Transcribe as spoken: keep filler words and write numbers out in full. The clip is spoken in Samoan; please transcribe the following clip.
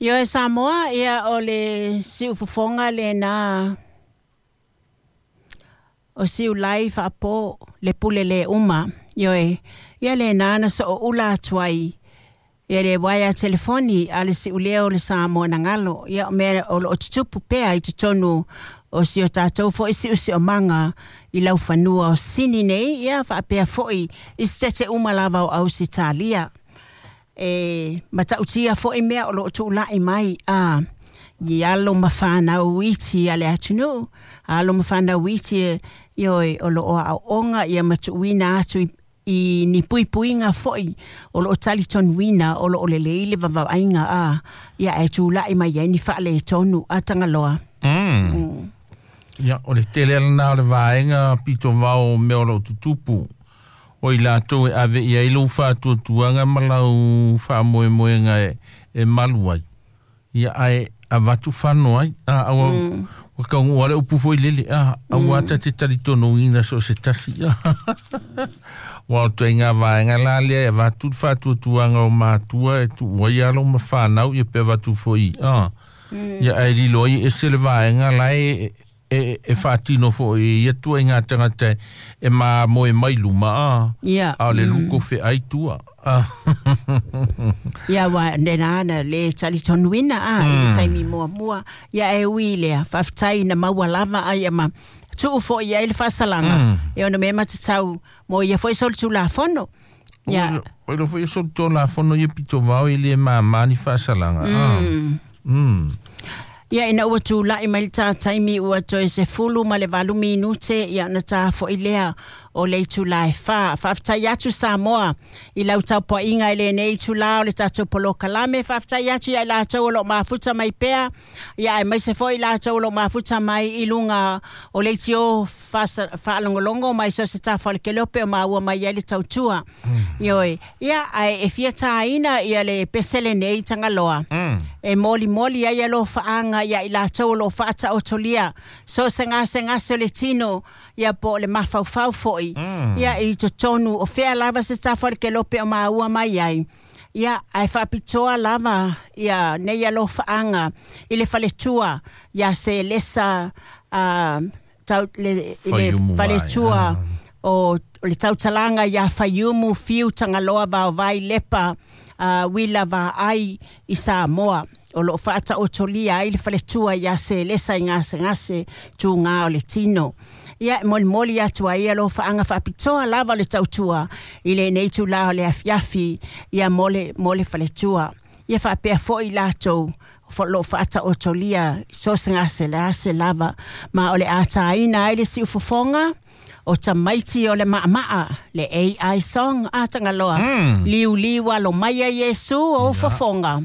Ioe Samoa, ia o le siufofoga lena o siulai faapo le pule le uma. Ioe, ia lena na sooula atu ai ia le waea telefoni a le siuleo o le Samoa na galo. Ia o mea o loo tutupu pea i totonu o si o tatou fo'i siusiomaga i laufanua o Sini nei, ia faapea fo'i i setete uma lava o Ausetalia. E matautia fo'i mea o loo tuulai mai a i alo ma fanau iti a le atunuu, alo ma fanau iti, ioe, o loo aooga ia ma tuuina atu i i ni puipuiga fo'i o loo talitonuina o loo lelei le vavaaiga a ia e tula'i mai ai ni faaletonu a Tagaloa. Mm. Mm. Ia, o le tele lena o le vaega pito vao o mea o loo tutupu. O i latou e ave i ai lou faatuatuaga ma lau faamoemoega e, e malu ai. Ia ae avatu fano ai. A, aua, mm. ua kaugua le upu foi lele. A, aua mm. ta te talitonuina so se tasi. Ua o ituaiga vaega la lea e avatu le faatuatuaga o matua e tuu ai alo ma fanau ia pe avatu foi. A, mm. Ia ae lilo ai ese le vaega la e e, e faatino foi ia tua i ngā tangata e ma moe mai luma a. Ia. A o le luko feai tua. A. Ia wa lena na le talitonuina a i le taimi muamua. Ia e ui lea, faafetai na maua lava ai ma tuu fo'i ai le faasalaga e ona mea matatau mo ia fo'i solitulafono. Ia. O lo foi solitulafono ia pito vao e le mamā ni faasalaga. Mm. Mm. Ia ina ua tula'i mai le tā taimi ua toe sefulu ma le valu minute ia ona tā fo'i lea o le itulā e fa. Faafetai atu Samoa i lau taupua'iga i lenei itulā o le tatou polokalame. Faafetai atu ia i latou o loo mafuta mai pea, ia aemaise fo'i latou o loo mafuta mai i luga o le leitio faalogologo mai so se tafa o le kelope o maua mai ai le tautua. Ioe, ia ae e fia tāina ia le pese lenei Tagaloa. Mm. E molimoli ai alofaaga ia i latou o loo faataotolia so se gasegase o le tino ia po o le mafaufau fo'i Mm. ia i totonu o fea lava se tafa o le kelope o maua mai ai. Ia ae faapitoa lava ia nei alofaaga i le faletua ia se lesa uh, tau, le, i le Faiumu vai, faletua ah. o, o le tautalaga ia Faiumu Fiu Tagaloa Vaovai Lepa uh, Wila Vaai i Samoa o loo faataotolia ai le faletua ia Selesa i gasegase tugā o le tino. Ia e molimoli atu ai alofaaga faapitoa lava o le tautua i lenei itulā o le afiafi ia mo le, mo le faletua. Ia faapea fo'i latou loo faataotolia so se gase le ase lava ma o le ataina ai le siufofoga o tamaiti o le maamaa le A I song a Tagaloa. Mm. Liuliu alo mai a Iesu o fofoga.